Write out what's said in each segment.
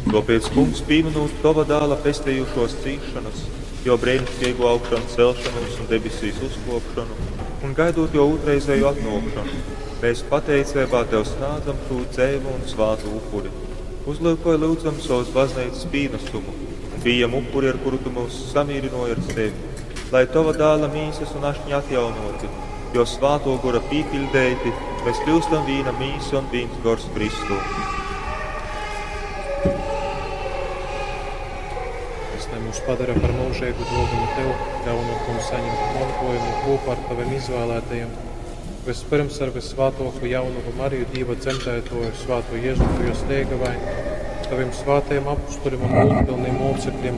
Tōpēc, Kungs, pīmynūt Tova Dāla pestejušōs cīsšonas, Jō breiniškeigū augšancelšonūs un debesīs uzkōpšonu, un gaidūt Jō ūtrreizēju atnōkšonu, mēs pateiceibā Tev snādzam šū dzeivu un svātu upuri. Uzlyukoj, lyudzam, sovas bazneicas pīnasumu un pījem upuri, ar kuru Tu myus samīrynōji ar sevi, lai Tova Dāla mīsas un ašņa atjaunōti, Jō Svātō Gora pīpiļdeiti, mēs kļūstam vīna mīsa un vīns gors Kristū. Tas lai mūs padara par mūžīgu dōvanu Tev, ļaunot mums saņemt montōjumu kopā ar Taviem izvēlētajiem, vispirms ar visvātōko jaunavu Mariju Dīva dzemdētoju, svāto Jezupu jos leigavaini, Taviem svātajiem apustuļiem un gūdpilniem mocekļiem,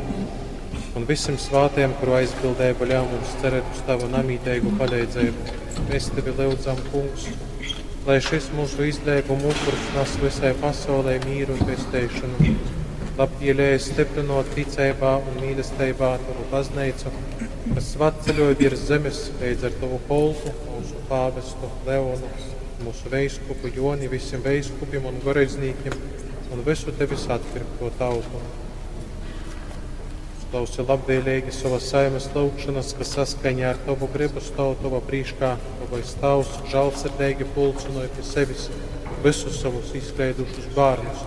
un visiem svātajiem, kuru aizbildība ļauj mums cerēt uz Tavu namītīgu palīdzību. Mēs Tevi lyudzam, Kungs, lai šis mūsu izlēguma upurs nes visai pasaulē mīru un pesteišanu. Labvēlīgi stiprinot ticībā un mīlestībā Tavu baznīcu, kas svatceļoja virs zemes līdz ar Tavu kolpu, mūsu pāvestu Leonu, mūsu veiskupu Joni, visiem veiskupiem un goreidznīkiem un visu Tevis atpirkto tautu. Uzklausi labvēlīgi savas saimes lūgšanas, kas saskaņā ar Tavu gribu stāv Tava prīškā, Tavais Tavs žēlsirdīgi pulcinoja pie sevis visus savus izkleidušus bērnus,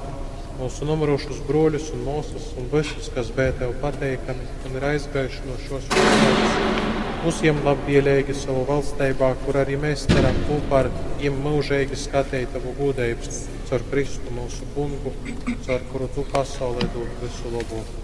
mūsu nomirušus broļus un māsas un visus, kas bija Tev pateikami un ir aizgājuši no šos pasaules. Uzjem labvēlīgi savu valstībā, kur arī mēs ceram kopā ar viņiem mūžīgi skatīt Tavu gudrību, caur Kristu mūsu kungu, caur kuru Tu pasaulē dod visu labo.